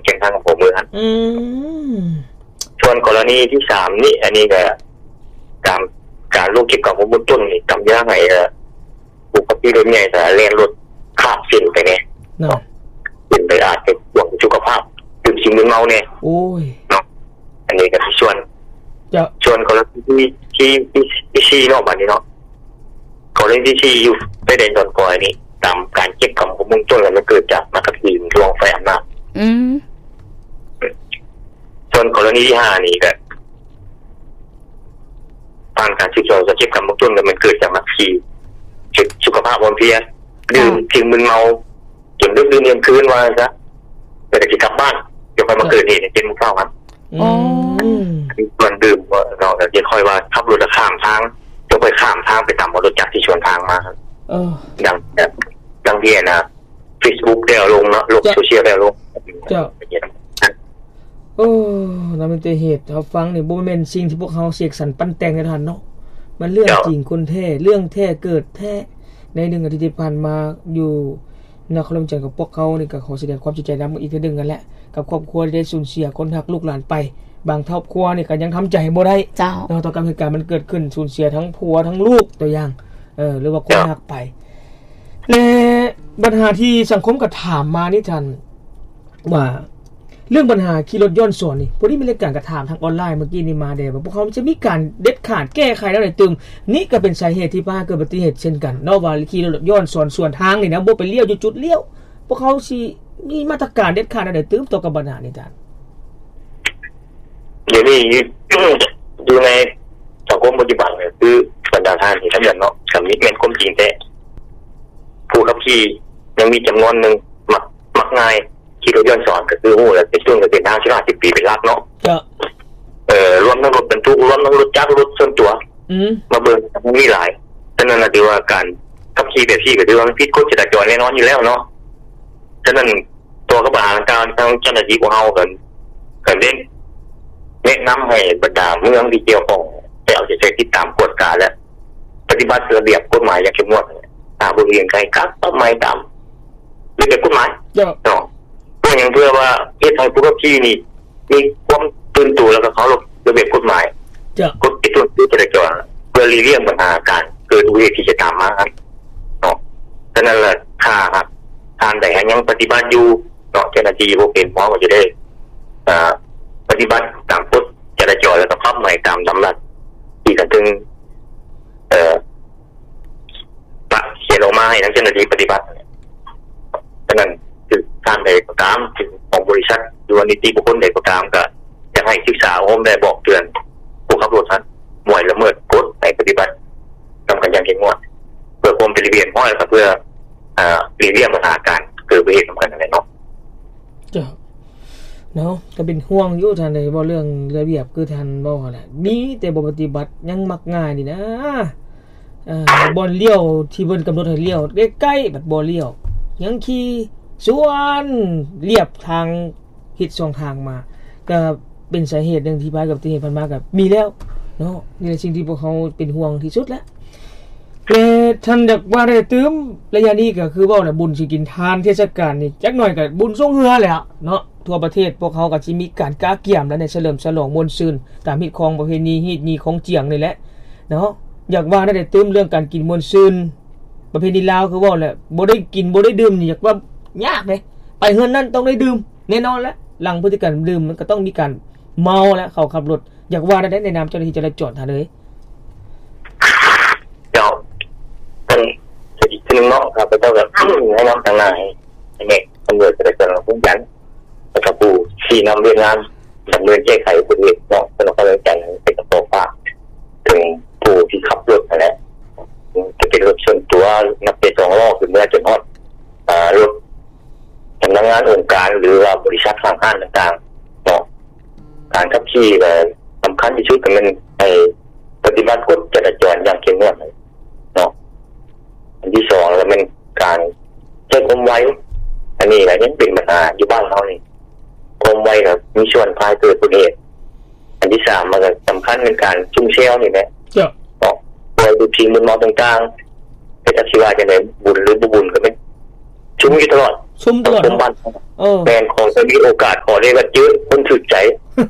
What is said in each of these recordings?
ຂຽງທາງອຳເພີເມືອງຫັ້ນ. ອືມ ສ່ວນກໍລະນີທີສາມນີ້ ອັນນີ້ກໍຕາມການລົງເກັບກຳຂໍ້ມູນຕົ້ນນີ້ ກຳຢ່າໃຫ້ ເອີ ຜູ້ຂັບຂີ່ລົດໃຫຍ່ກໍແລ່ນລົດຂ້າມເສັ້ນໄປແດ່ເນາະ ເນາະ ເປັນໄປອາດຈະຫ່ວງສຸຂະພາບ ດື່ມສິ່ງມຶນເມົາແດ່ ໂອ້ຍ ເນາະ. ອັນນີ້ກໍຄືສ່ວນ ເຈົ້າ ສ່ວນກໍລະນີທີ ທີ ທີສີ່ເນາະ ບາດນີ້ເນາະ ກໍລະນີທີສີ່ຢູ່ຊາຍແດນດອນກອຍນີ້ ຕາມການເກັບກຳຂໍ້ມູນຕົ້ນ ແລ້ວມັນເກີດຈາກນັກຂັບຂີ່ຫຼວງໄຟອຳນາດ. ອືມ ສ່ວນກໍລະນີທີຫ້ານີ້ກໍ ຜ່ານການສືບສວນສອດເກັບກຳເບື້ອງຕົ້ນ ກໍແມ່ນເກີດຈາກນັກຂີ່ເຮັດສຸຂະພາບອ່ອນເພຍ ດື່ມ ເຈົ້າ ສິ່ງມຶນເມົາຈົນດຶກດື່ນທ່ຽງຄືນ ວ່າຊັ້ນຊະ ແລ້ວກໍຊິກັບບ້ານ ແລ້ວຄ່ອຍມາ ເຈົ້າ ເກີດເຫດໃນເຈັດໂມງເຊົ້າຫັ້ນ. ອໍ ອືມ ສ່ວນດື່ມເນາະ ກໍຈະຄ່ອຍວ່າຂັບລົດຂ້າມທາງ ຈະຄ່ອຍຂ້າມທາງໄປຕາມລົດຈັກທີ່ສວນທາງມາ. ເອີ ດັ່ງ ດັ່ງທີ່ອັນນ່າ ເຟສບຸກໄດ້ເອົາລົງເນາະ ໂລກ ເຈົ້າ ໂຊຊຽວໄດ້ເອົາລົງ. ເຈົ້າ ໂອ້ ນຳມີແຕ່ເຫດ ເຮົາຟັງນີ້ບໍ່ແມ່ນສິ່ງທີ່ພວກເຮົາເສກສັນປັ້ນແຕ່ງເດ້ທ່ານເນາະ ມັນເລື່ອງ ເຈົ້າ ຈິງຄົນແທ້ ເລື່ອງແທ້ເກີດແທ້. ໃນໜຶ່ງອາທິດທີ່ຜ່ານມາຢູ່ນະຄອນຫຼວງວຽງຈັນຂອງພວກເຮົານີ້ ກໍຂໍສະແດງຄວາມເສຍໃຈນຳອີກເທື່ອໜຶ່ງຫັ້ນແຫຼະ ກັບຄອບຄົວທີ່ໄດ້ສູນເສຍຄົນຮັກລູກຫຼານໄປ. ບາງຄອບຄົວນີ້ກໍຍັງທຳໃຈບໍ່ໄດ້ ເຈົ້າ ເນາະ ຕໍ່ກັບເຫດການມັນເກີດຂຶ້ນ ສູນເສຍທັງຜົວທັງລູກ ຕົວຢ່າງ ເອີ ຫຼືວ່າຄົນ ເຈົ້າ ຮັກໄປ. ແລະບັນຫາທີ່ສັງຄົມກໍຖາມມານີ້ທ່ານ ວ່າເລື່ອງບັນຫາຂີ່ລົດຍ້ອນສອນນີ້ ພໍດີມີລາຍການກໍຖາມທາງອອນລາຍມື້ກີ້ນີ້ມາແດ່ ວ່າພວກເຮົາຈະມີການເດັດຂາດແກ້ໄຂແນວໃດຕື່ມ. ນີ້ກໍເປັນສາເຫດທີ່ພາໃຫ້ເກີດອຸບັດຕິເຫດເຊັ່ນກັນເນາະ ວ່າຂີ່ລົດຍ້ອນສອນສວນທາງນີ້ນະ ບໍ່ໄປລ້ຽວຢູ່ຈຸດລ້ຽວ ພວກເຮົາຊິມີມາດຕະການເດັດຂາດແນວໃດຕື່ມຕໍ່ກັບບັນຫານີ້ທ່ານ? ດຽວນີ້ຢູ່ໃນສັງຄົມປັດຈຸບັນ ກໍຄືບັນດາທ່ານທີ່ທຳງານເນາະ ກໍມີແມ່ນຄວາມຈິງແທ້ ຜູ້ຂັບຂີ່ຍັງມີຈຳນວນໜຶ່ງມັກ ມັກງ່າຍ ຂີ່ລົດຍ້ອນສອນ ກໍຄືຮູ້ແລ້ວ ເປັນຊ່ວງເປັນທາງສິບຫ້າສິບປີເປັນຫຼັກເນາະ ເຈົ້າ ເອີ ລວມທັງລົດບັນທຸກ ລວມທັງລົດຈັກ ລົດສ່ວນຕົວ ອືມ ມາເບິ່ງ ມັນມີຫຼາຍ. ສະນັ້ນລະ ຖືວ່າການຂັບຂີ່ແບບນີ້ ກໍຖືວ່າມັນຜິດກົດຈະລາຈອນແນ່ນອນຢູ່ແລ້ວເນາະ. ສະນັ້ນ ຕໍ່ກັບບັນຫາດັ່ງກ່າວ ທາງເຈົ້າໜ້າທີ່ພວກເຮົາກໍ ກໍໄດ້ແນະນຳໃຫ້ບັນດາເມືອງທີ່ກ່ຽວຂ້ອງ ໄດ້ເອົາໃຈໃສ່ຕິດຕາມກວດກາ ແລະ ປະຕິບັດລະບຽບກົດໝາຍຢ່າງເຂັ້ມງວດ. ຖ້າບໍ່ເຫັນ ໃຫ້ກັບ ປັບໃໝຕາມລະບຽບກົດໝາຍ ເຈົ້າ ເນາະ. ເພື່ອຫຍັງ? ເພື່ອວ່າເຮັດໃຫ້ຜູ້ຂັບຂີ່ນີ້ມີຄວາມຕື່ນໂຕ ແລ້ວກໍເຄົາລົບລະບຽບກົດໝາຍ ເຈົ້າ ກົດຈະລາຈອນ ເພື່ອຫຼີກລ່ຽງບັນຫາການເກີດອຸບັດຕິເຫດທີ່ຈະຕາມມາເນາະ. ສະນັ້ນລະ ຖ້າຫາກທ່ານໃດຫາກຍັງປະຕິບັດຢູ່ເນາະ ເຈົ້າໜ້າທີ່ຜູ້ເປັນເຮົາກໍຈະໄດ້ ເອີ ປະຕິບັດຕາມກົດຈະລາຈອນ ແລ້ວກໍປັບໃໝຕາມດຳລັດທີ່ຂັ້ນເທິງ ເອີ ປະຂຽນອອກມາໃຫ້ທາງເຈົ້າໜ້າທີ່ປະຕິບັດ. ສະນັ້ນ ຄືທ່ານໃດກໍຕາມ ຄືຂອງບໍລິສັດ ຫຼືວ່ານິຕິບຸກຄົນໃດກໍຕາມ ກໍຢາກໃຫ້ສຶກສາອົບຮົມ ແລະ ບອກເຕືອນຜູ້ຂັບລົດຫັ້ນ ບໍ່ໃຫ້ລະເມີດກົດ ໃຫ້ປະຕິບັດນຳກັນຢ່າງເຂັ້ມງວດ ເພື່ອຄວາມເປັນລະບຽບຮຽບຮ້ອຍ ແລ້ວກໍເພື່ອ ອາ ຫຼີກລ່ຽງບັນຫາການເກີດອຸບັດຕິເຫດນຳກັນນັ້ນແຫຼະເນາະ. ເຈົ້າ ເນາະ ກໍເປັນຫ່ວງຢູ່ທ່ານເອີຍ ເວົ້າເລື່ອງລະບຽບຄືທ່ານເວົ້າຫັ້ນແຫຼະ ມີແຕ່ບໍ່ປະຕິບັດ ຍັງມັກງ່າຍນີ້ນະ. ເອີ ບ່ອນລ້ຽວທີ່ເພິ່ນກຳນົດໃຫ້ລ້ຽວໃກ້ໆ ບັດບໍ່ລ້ຽວ ຍັງຂີ່ສວນລຽບທາງ ເຮັດສອງທາງມາ ກໍເປັນສາເຫດໜຶ່ງທີ່ພາໃຫ້ເກີດອຸບັດຕິເຫດຜ່ານມາກໍມີແລ້ວເນາະ. ນີ້ແຫຼະສິ່ງທີ່ພວກເຮົາເປັນຫ່ວງທີ່ສຸດແຫຼະ. ແລະ ທ່ານຢາກວ່າໄດ້ຕື່ມ ໄລຍະນີ້ກໍຄືເວົ້າແຫຼະ ບຸນຊິກິນທານ ເທດສະການນີ້ ຈັກໜ້ອຍກໍບຸນຊ່ວງເຮືອແຫຼະເນາະ. ທົ່ວປະເທດພວກເຮົາກໍຊິມີການກະກຽມ ແລະ ໄດ້ສະເຫຼີມສະຫຼອງມ່ວນຊື່ນ ຕາມຮີດຄອງປະເພນີ ຮີດຍີ່ຂອງຈຽງນີ້ແຫຼະເນາະ. ຢາກວ່າໄດ້ຕື່ມເລື່ອງການກິນມ່ວນຊື່ນ ປະເພນີລາວຄືເວົ້າແຫຼະ ບໍ່ໄດ້ກິນບໍ່ໄດ້ດື່ມນີ້ ຢາກວ່າຍາກເດ້ ໄປເຮືອນນັ້ນຕ້ອງໄດ້ດື່ມແນ່ນອນແຫຼະ. ຫຼັງພຶດຕິກຳດື່ມມັນກໍຕ້ອງມີການເມົາແຫຼະ ເຂົາຂັບລົດ. ຢາກວ່າແນວໃດໃນນາມເຈົ້າໜ້າທີ່ຈະລາຈອນທ່ານເອີຍ? ເຈົ້າ ເອີ ອີກເທື່ອໜຶ່ງເນາະ ຂ້າພະເຈົ້າກໍແນະນຳທາງໜ້າໃຫ້ ໃຫ້ແມ່ນຕຳຫຼວດຈະໄດ້ເປັນຜູ້ຈັດ ແລ້ວກໍຜູ້ຊີ້ນຳວຽກງານດຳເນີນແກ້ໄຂອຸບັດຕິເຫດເນາະ ເພິ່ນກໍເປັນການໃຫ້ກະປອກປາກເຖິງຜູ້ທີ່ຂັບລົດຫັ້ນແຫຼະ ຈະເປັນລົດສ່ວນຕົວ ນັບແຕ່ສອງລໍ້ຂຶ້ນເມືອ ຈົນຮອດ ອາ ລົດສຳນັກງານອົງການ ຫຼືວ່າບໍລິສັດຫ້າງຮ້ານຕ່າງໆເນາະ. ການຂັບຂີ່ກໍສຳຄັນທີ່ສຸດກໍແມ່ນໃຫ້ປະຕິບັດກົດຈະລາຈອນຢ່າງເຂັ້ມງວດເນາະ. ອັນທີສອງກໍແມ່ນການໃຊ້ຄວາມໄວ ອັນນີ້ກໍຍັງເປັນບັນຫາຢູ່ບ້ານເຮົານີ້ ຄວາມໄວກໍມີສ່ວນພາໃຫ້ເກີດອຸບັດຕິເຫດ. ອັນທີສາມມັນກໍສຳຄັນແມ່ນການຊຸມແຊວນີ້ແຫຼະ ເຈົ້າ ເນາະ ເພາະວ່າສິ່ງມຶນເມົາຕ່າງໆ ແຕ່ຈັກຊິວ່າຈັ່ງໃດ ບຸນຫຼືບໍ່ບຸນກໍແມ່ນຊຸມຢູ່ຕະຫຼອດ ຊຸມຕະຫຼອດເນາະ ຄົນບ້ານ ເອີ ແມ່ນ ຂໍໄດ້ມີໂອກາດ ຂໍໄດ້ວ່າເຈີຄົນຖືກໃຈ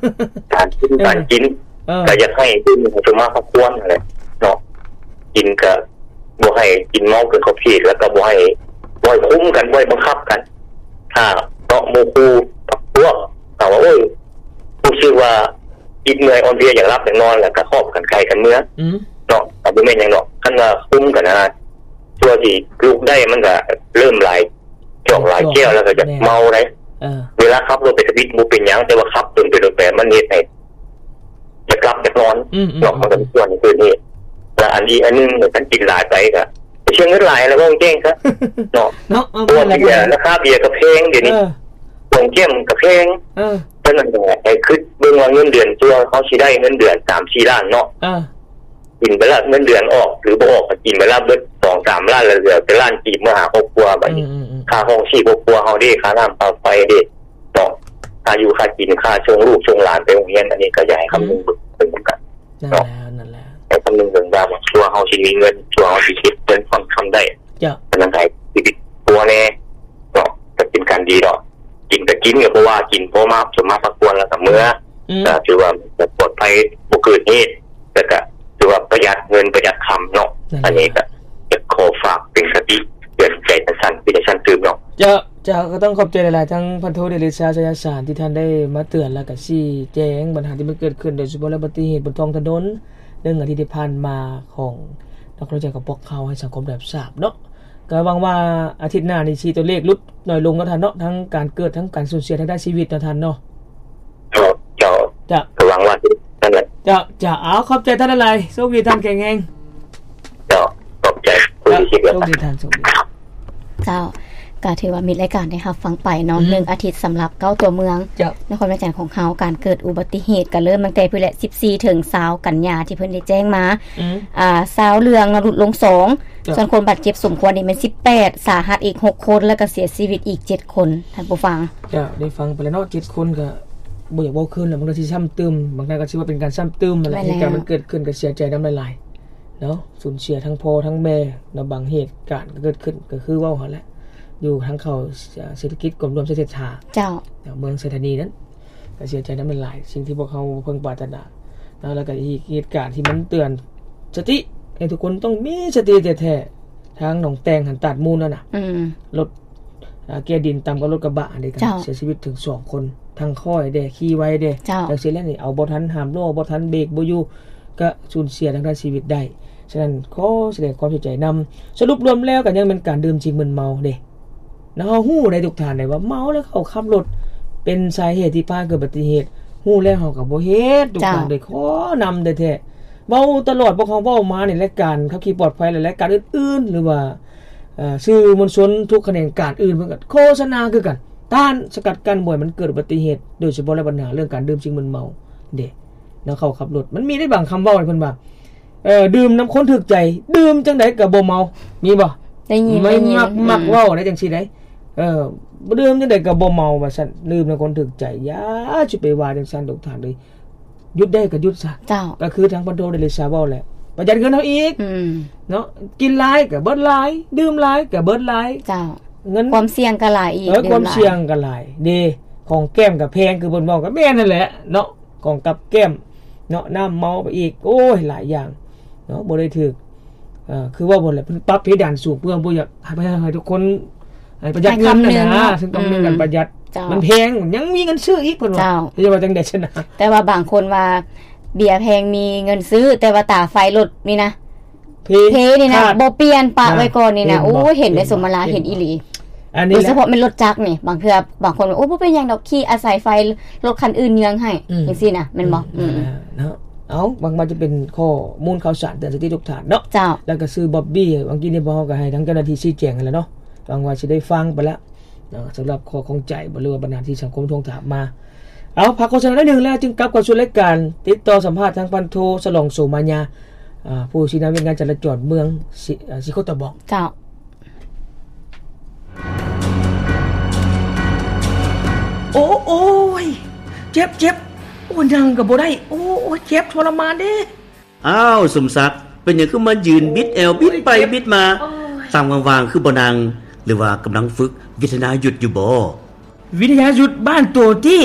ການກິນ ເອີ ການກິນ ເອີ ກໍຢາກໃຫ້ເບິ່ງໃຫ້ສົມມາພາຄວນຫັ້ນແຫຼະເນາະ ກິນກໍບໍ່ໃຫ້ກິນເມົາເກີນຂອບເຂດ ແລ້ວກໍບໍ່ໃຫ້ ບໍ່ໃຫ້ຄຸມກັນ ບໍ່ໃຫ້ບັງຄັບກັນ ຖ້າເນາະ ໝູ່ຄູ່ພັກພວກ ຖ້າວ່າ ໂອ້ຍ ຮູ້ສຶກວ່າອິດເມື່ອຍອ່ອນເພຍ ຢາກຫຼັບຢາກນອນ ແລ້ວກໍຫອບກັນໄກ່ກັນເມືອ ອືມ ເນາະ ກໍບໍ່ແມ່ນຫຍັງດອກ ຄັນວ່າຄຸມກັນນະ ເພື່ອຊິລຸກໄດ້ ມັນກໍເລີ່ມຫຼາຍ ຈອກຫຼາຍແກ້ວແລ້ວກໍຢາກເມົາໄດ໋ ເອີ ເວລາຂັບລົດໄປທຳອິດບໍ່ເປັນຫຍັງ ແຕ່ວ່າຂັບດົນໄປດົນໄປ ມັນເຮັດໃຫ້ຢາກຫຼັບຢາກນອນ ອືມໆໆ ເນາະ ມັນກໍມີສ່ວນເກີດເຫດ ແລະ ອັນອີກອັນໜຶ່ງ ຄັນກິນຫຼາຍໄປກໍເສຍເງິນຫຼາຍ ແລ້ວເວົ້າແຈ້ງຊະ ເນາະ ເນາະ ເພາະວ່າເບຍ ລາຄາເບຍກໍແພງດຽວນີ້ ເອີ ຂອງແກ້ມກໍແພງ ເອີ ສະນັ້ນກໍໃຫ້ຄິດເບິ່ງວ່າເງິນເດືອນ ຕົວເຮົາຊິໄດ້ເງິນເດືອນສາມສີ່ລ້ານເນາະ ເອີ ກິນໄປລະ ເງິນເດືອນອອກ ຫຼືບໍ່ອອກ ກໍກິນໄປລະ ເບິດສອງສາມລ້ານ ແລ້ວເຫຼືອແຕ່ລ້ານກີບເມືອຫາຄອບຄົວ ບາດນີ້ ອືມໆໆ ຄ່າຫ້ອງຊີບຄອບຄົວເຮົາເດ້ ຄ່ານ້ຳຄ່າໄຟເດ້ເນາະ ຄ່າຢູ່ຄ່າກິນ ຄ່າສົ່ງລູກສົ່ງຫຼານໄປໂຮງຮຽນ ອັນນີ້ກໍຢາກໃຫ້ຄຳນຶງເບິ່ງເນາະ ນັ້ນແຫຼະ ນັ້ນແຫຼະ ໃຫ້ຄຳນຶງເບິ່ງວ່າຕົວເຮົາຊິມີເງິນ ຕົວເຮົາຊິເກັບເງິນພໍສ່ຳໃດ ເຈົ້າ ອັນນັ້ນໃຫ້ຊີວິດຕົວແດ່ເນາະ ກໍເປັນການດີເນາະ ກິນກໍກິນ ກໍບໍ່ວ່າ ກິນພໍມາ ສົມມາພາຄວນ ແລ້ວກໍເມືອ ອືມ ກໍຖືວ່າປອດໄພ ບໍ່ເກີດເຫດ ແລ້ວກໍຖືວ່າປະຢັດເງິນປະຢັດຄຳເນາະ ນັ້ນແຫຼະ ອັນນີ້ກໍຢາກຂໍຝາກເປັນຄະຕິເຕືອນໃຈສັ້ນໆ ເປັນສັ້ນຕື່ມເນາະ ເຈົ້າ ເຈົ້າ ກໍຕ້ອງຂອບໃຈຫຼາຍໆ ທັງພັນໂທ ເດຊາ ໄຊຍະສານ ທີ່ທ່ານໄດ້ມາເຕືອນ ແລ້ວກໍຊີ້ແຈງບັນຫາທີ່ມັນເກີດຂຶ້ນ ໂດຍສະເພາະເລື່ອງອຸບັດຕິເຫດບົນທ້ອງຖະໜົນ ເລື່ອງອາທິດທີ່ຜ່ານມາຂອງນັກລົງແຂ່ງຂອງພວກເຮົາໃຫ້ສັງຄົມໄດ້ຮັບຊາບເນາະ ກໍຫວັງວ່າອາທິດໜ້ານີ້ຊິຕົວເລກຫຼຸດໜ້ອຍລົງເນາະທ່ານເນາະ ທັງການເກີດ ທັງການສູນເສຍທາງດ້ານຊີວິດເນາະທ່ານເນາະ ເຈົ້າ ເຈົ້າ ເຈົ້າ ກໍຫວັງວ່າຊິນັ້ນແຫຼະ ເຈົ້າ ເຈົ້າ ເອົາ ຂອບໃຈທ່ານຫຼາຍໆ ໂຊກດີທ່ານ ແຂງແຮງ ເຈົ້າ ຂອບໃຈ ເຈົ້າ ໂຊກດີທ່ານ ໂຊກດີ ເຈົ້າ ກໍຖືວ່າມິດລາຍການໄດ້ຮັບຟັງໄປເນາະ ອືມ ໜຶ່ງອາທິດສຳລັບເກົ້າຕົວເມືອງ ເຈົ້າ ນະຄອນຫຼວງວຽງຈັນຂອງເຮົາ ການເກີດອຸບັດຕິເຫດກໍເລີ່ມຕັ້ງແຕ່ພຸ້ນແຫຼະ ສິບສີ່ ເຖິງ ຊາວ ກັນຍາທີ່ເພິ່ນໄດ້ແຈ້ງມາ ອືມ ອ່າ ຊາວເລື່ອງເນາະ ຫຼຸດລົງສອງ ເຈົ້າ ສ່ວນຄົນບາດເຈັບສົມຄວນນີ້ແມ່ນສິບແປດ ສາຫັດອີກຫົກຄົນ ແລ້ວກໍເສຍຊີວິດອີກເຈັດຄົນ ທ່ານຜູ້ຟັງ ເຈົ້າ ໄດ້ຟັງໄປແລ້ວເນາະ ເຈັດຄົນ ກໍບໍ່ຢາກເວົ້າຄືນແລ້ວ ມັນກໍຊິຊ້ຳຕື່ມ ບາງທ່ານກໍຊິວ່າເປັນການຊ້ຳຕື່ມນັ້ນແຫຼະ ແມ່ນແລ້ວ ເຫດການມັນເກີດຂຶ້ນກໍເສຍໃຈນຳຫຼາຍໆ ເນາະ ສູນເສຍທັງພໍ່ທັງແມ່ເນາະ ບາງເຫດການກໍເກີດຂຶ້ນ ກໍຄືເວົ້າຫັ້ນແຫຼະ ຢູ່ທາງເຂົ້າ ເສດຖະກິດ ກົມລວມໄຊເສດຖາ ເຈົ້າ ເມືອງໄຊທານີນັ້ນ ກໍເສຍໃຈນຳຫຼາຍໆ ສິ່ງທີ່ພວກເຮົາບໍ່ເພິ່ງປາດຖະໜາເນາະ ແລ້ວກໍອີກເຫດການທີ່ມັນເຕືອນສະຕິ ໃຫ້ທຸກຄົນຕ້ອງມີສະຕິແທ້ໆ ທາງໜອງແຕ່ງຫັ້ນ ຕາດມູນຫັ້ນນະ ອືມ ລົດ ອ່າ ແກ່ດິນຕຳກັບລົດກະບະຫັ້ນເດ້ ເຈົ້າ ເສຍຊີວິດເຖິງສອງຄົນ ທັງຄ້ອຍແດ່ ຂີ່ໄວແດ່ ເຈົ້າ ຈັ່ງຊີ້ແຫຼະນີ້ ເອົາບໍ່ທັນ ຫ້າມລໍ້ບໍ່ທັນ ເບຣກບໍ່ຢູ່ ກະສູນເສຍທາງດ້ານຊີວິດໄດ້. ສະນັ້ນ ຂໍສະແດງຄວາມເສຍໃຈນຳ. ສະຫຼຸບລວມແລ້ວກະຍັງແມ່ນການດື່ມສິ່ງມຶນເມົາເດ້ ເນາະ. ເຮົາຮູ້ໄດ໋ທຸກທ່ານໄດ໋ວ່າເມົາແລ້ວເຂົາຂັບລົດ ເປັນສາເຫດທີ່ພາໃຫ້ເກີດອຸບັດຕິເຫດ. ຮູ້ແລ້ວເຮົາກະບໍ່ເຮັດ ທຸກທ່ານເອີຍ. ຂໍນຳແທ້ໆ ເວົ້າຕະຫຼອດ ພວກເຮົາເວົ້າມາໃນລາຍການຂັບຂີ່ປອດໄພ ແລະ ລາຍການອື່ນໆ ຫຼືວ່າ ເອີ ສື່ມວນຊົນທຸກຂະແໜງການອື່ນເພິ່ນກະໂຄສະນາຄືກັນ ຕ້ານສະກັດກັ້ນບໍ່ໃຫ້ມັນເກີດອຸບັດຕິເຫດ ໂດຍສະເພາະແລ້ວບັນຫາເລື່ອງການດື່ມສິ່ງມຶນເມົາເດ້ ແນວເຂົາຂັບລົດ. ມັນມີໄດ້ບາງຄຳເວົ້າໃຫ້ເພິ່ນວ່າ ເອີ ດື່ມນຳຄົນຖືກໃຈ ດື່ມຈັ່ງໃດກະບໍ່ເມົາ ມີບໍ່? ໄດ້ຍິນ ມັນ ໄດ້ຍິນ ມັກ ອືມ ມັກເວົ້າໄດ້ຈັ່ງຊີ້ໄດ໋ ເອີ ດື່ມຈັ່ງໃດກະບໍ່ເມົາວ່າຊັ້ນ ດື່ມນຳຄົນຖືກໃຈ. ຢ່າຊິໄປວ່າຈັ່ງຊັ້ນ ທຸກທ່ານເອີຍ. ຢຸດໄດ້ກໍຢຸດຊະ. ເຈົ້າ. ກໍຄືທາງພັນໂທໄດ້ເລີຊາເວົ້າແຫຼະ ປະຢັດເງິນເຮົາອີກ ອືມ ເນາະ. ກິນຫຼາຍກໍເບິດຫຼາຍ ດື່ມຫຼາຍກໍເບິດຫຼາຍ. ເຈົ້າ. ເງິນ ຄວາມສ່ຽງກໍຫຼາຍອີກ ເອີ ຄວາມສ່ຽງກໍຫຼາຍເດ້. ຂອງແກ້ມກໍແພງ ຄືເພິ່ນເວົ້າກໍແມ່ນຫັ້ນແຫຼະເນາະ. ຂອງກັບແກ້ມເນາະ ນ້ຳເມົາໄປອີກ ໂອ້ຍ ຫຼາຍຢ່າງເນາະ ບໍ່ໄດ້ຖືກ. ເອີ ຄືເວົ້າບໍ່ແຫຼະ ເພິ່ນປັບເພດານສູງ ເພື່ອບໍ່ຢາກໃຫ້ ໃຫ້ ໃຫ້ທຸກຄົນ ໃຫ້ປະຢັດເງິນຫັ້ນນະ ໃຫ້ຄຳໜຶ່ງ ຊຶ່ງຄຳໜຶ່ງ ອືມ ກັນປະຢັດ ເຈົ້າ ມັນແພງ ຍັງມີເງິນຊື້ອີກ ເພິ່ນວ່າ ເຈົ້າ ເຈົ້າວ່າຈັ່ງໃດຊັ້ນນະ? ແຕ່ວ່າບາງຄົນວ່າເບຍແພງມີເງິນຊື້ ແຕ່ວ່າຕາໄຟລົດນີ້ນະ ເພ ເພນີ້ນະ ຂາດ ບໍ່ປ່ຽນ ປະໄວ້ກ່ອນນີ້ນະ. ເຫັນບໍ່? ໂອ້ຍ ເຫັນໄດ້ສົມມາລາ ເຫັນອີ່ຫຼີ. ອັນນີ້ແຫຼະ ໂດຍສະເພາະແມ່ນລົດຈັກນີ້ ບາງເທື່ອບາງຄົນ ໂອ້ ບໍ່ເປັນຫຍັງດອກ ຂີ່ອາໄສໄຟ ລົດຄັນອື່ນເຍືອງໃຫ້ ອືມ ຈັ່ງຊີ້ນະ ແມ່ນບໍ່? ອືມ ອືມ ເນາະ. ເອົາ ຫວັງວ່າຈະເປັນຂໍ້ມູນຂ່າວສານເຕືອນສະຕິທຸກທ່ານເນາະ. ເຈົ້າ. ແລ້ວກໍຊື່ບັອບບີ ຫວັງກີ້ນີ້ພວກເຮົາກໍໃຫ້ທາງເຈົ້າໜ້າທີ່ຊີ້ແຈງຫັ້ນແຫຼະເນາະ. ຫວັງວ່າຊິໄດ້ຟັງໄປແລ້ວເນາະ ສຳລັບຂໍ້ຂ້ອງໃຈ ຫຼືວ່າບັນຫາທີ່ສັງຄົມທວງຖາມມາ. ເອົາ ພັກໂຄສະນາໜ້ອຍໜຶ່ງ ແລ້ວຈຶ່ງກັບເຂົ້າສູ່ລາຍການ ຕິດຕໍ່ສຳພາດທາງພັນໂທ ສະຫຼອງ ໂສມາຍາ ອາ ຜູ້ຊີ້ນຳວຽກງານຈະລາຈອນເມືອງ ຊິ ອາ ຊິໂຄດຕະບອງ. ເຈົ້າ. ໂອ້ ໂອ້ຍ ເຈັບ ເຈັບ ໂອ້ ນັ່ງກໍບໍ່ໄດ້ ໂອ້ ໂອ້ ເຈັບທໍລະມານເດ້. ອ້າວ ສົມສັກ ເປັນຫຍັງຄືມາຢືນບິດແອວ ບິດໄປບິດມາ? ໂອ້ຍ ຕາມວ່າງໆ ຄືບໍ່ນັ່ງ? ຫຼືວ່າກຳລັງຝຶກວິທະຍາຍຸດຢູ່ບໍ? ວິທະຍາຍຸດບ້ານໂຕຕິ?